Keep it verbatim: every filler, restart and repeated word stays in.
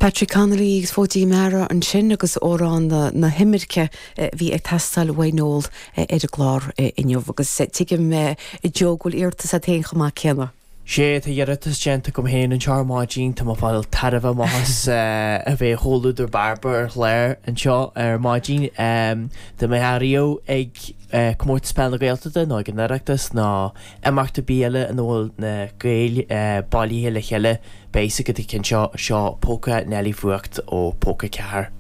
Patrick Connolly agus Fóidí Meara ansin agus amhrán na, na himirce bhí ag teastáil uaidh Noel ar an gclár inniu agus tuigim Joe go bhfuil iarratas agat féin chomh maith céanna. Sé tá iarratas déanta agam féin anseo ar maidin tá mé ag fáil tairbhe amach as a bheith chomhluadar Bairbre ar chlár anseo ar maidin Tá mé ariamh ag comórtas peil na Gaeltachta nó ag an Oireachtas nó imeacht ar bith eile ina bhfuil na Gaeil bailithe le chéile beidh a fhios agat an ceann seo seo Póca Neilí Fuacht ó Póca Ceathair.